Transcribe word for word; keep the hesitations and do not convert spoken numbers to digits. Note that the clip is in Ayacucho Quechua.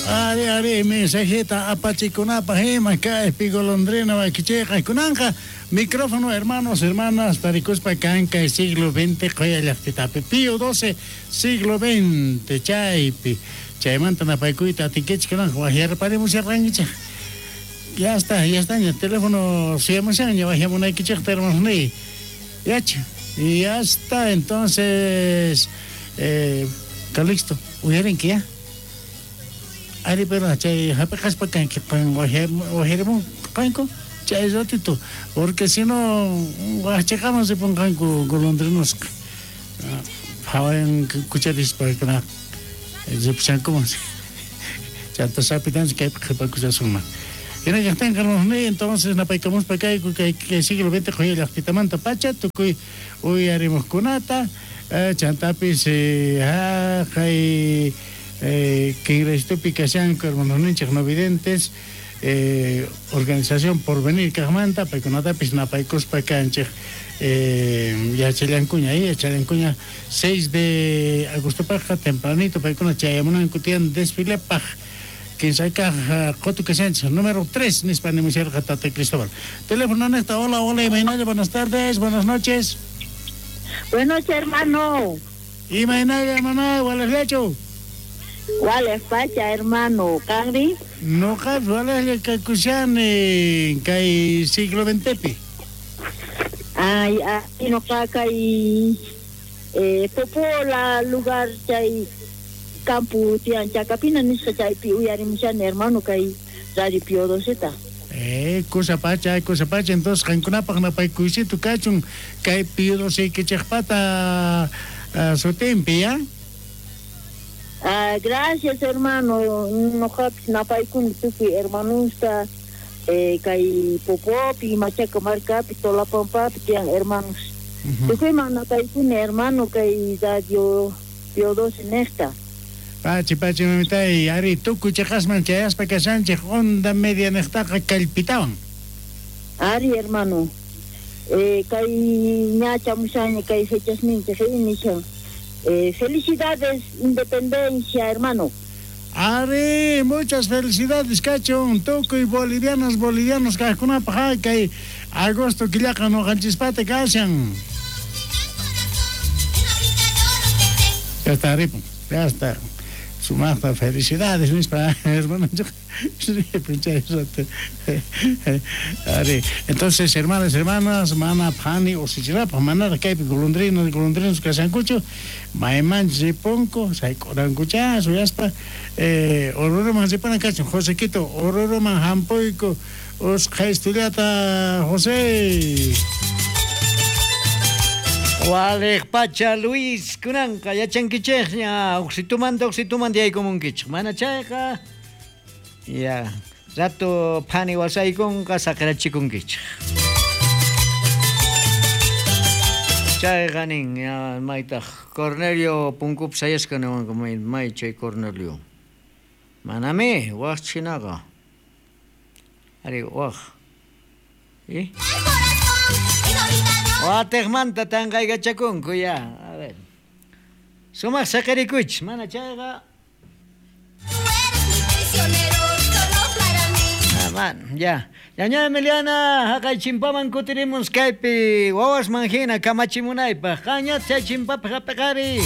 Ari, ari, mensajita apachikunapaq ima kaypi golondrina wakichiyqa kunanqa micrófono, hermanos, hermanas, tarikuspa kan kay siglo veinte quya llaqtitapi Pío doce siglo veinte chaypi chaymanta napaykuyta atinkichik kunanqa waqyarparimusharqankichik. Ya está, ya está, el teléfono suyamushanña waqyamunaykichikta hermanos niy. Yacha, ya está, entonces eh, Calixto, uyarinki ya. Ari, pero chay hapiqaspa kanki qan waqyarimunqanku chay ratito, porque si no waqchiqaman ripunqanku golondrinosqa phawayan kucharispa kuna ripushankuman chanta sapitanchik kaypi qhipakushasunman. Hina kaqtinqa hermanos, entonces napaykamuspa kayku kay kay siglo veinte quya llaqtitamanta pacha tukuy uyarimuqkunata chantapis haqay kinraystupi kashanku hermanos ninchik no videntes eh, organización Porvenir kaqmanta paykunatapis napaykuspa kanchik eh, yachallankuña ahí yachallankuña seis de agostopaqqa tempranito paykuna chayamunanku tiyan desfilepaq kinsakaq qotu kashanchik número tres nispa nimusharqa Tata Cristóbal. Teléfono nesta, hola, hola, imaynalla, buenas tardes, buenas noches. Buenas noches, hermano. Imaynalla, hermana, walejllachu. Walej pacha, hermano, ¿kanri? Noqa walejlla kakushani kay siglo ventepi. Ay, ay, noqa kay eh, Popola lugar chay campo tiyan Chacapina nisqa chaypi uyarimushani, hermano, kay Radio Pío doceta. Eh, cosa pacha, cosa pacha, entonces qankunapaq napaykuysitu kachun kay Pío doce kichaqpata uh, sutinpi, ya? Ah, gracias, hermano. Noqapis napaykuni tukuy hermanosta eh, kay Popopi, Machaca markapi, Tolapampapi tiyan hermanos. Uh-huh. Tukuyman napaykuni, hermano, kay Radio Pío doce nesta. Pachi, pachi, mamitay, ari, tukuy chiqasman chayaspa kashanchik onda media niqtaqa kallpitawan. Ari, hermano. Eh, kay ñachamushaña kay fechas ninchik nishan. Eh, felicidades, independencia, hermano. Ari, muchas felicidades, kachun, tukuy bolivianos, bolivianos kaqkunapaq kay agosto killaqa nuqanchispata kashan. Ya está, ripun, ya está. Sumaqta felicidades nispa hermano. Ari, entonces hermanas, hermanas, mana phani usichinapaq manaraq kaypi golondrinos, golondrinos kashankuchu maymanchus ripunku sayk'urankucha suyaspa eh, Oruroman ripunan kachun Josequito, Oruroman hampuyku usqhaystullata José. Walej pacha Luis kunanqa yachankichikña uqsitumanta uqsitumanta yaykumunkichik mana chayqa ya rato phani wasaykunqa saqirachikunkichik chayqa nin ya maytaq Cornelio punkupi sayasqa niwanqa may may chay Cornelio manami waq chinaqa ari waq ¿y? Wateqmanta tanqaykachakunku ya, a ver. Sumaq saqirikuychis, mana chayqa. Ah, man, ya. Ñaña Emiliana, haqay chimpaman kutirimus kaypi wawasman hina kamachimunaypaq. Qañat chay chimpapi hapiqari.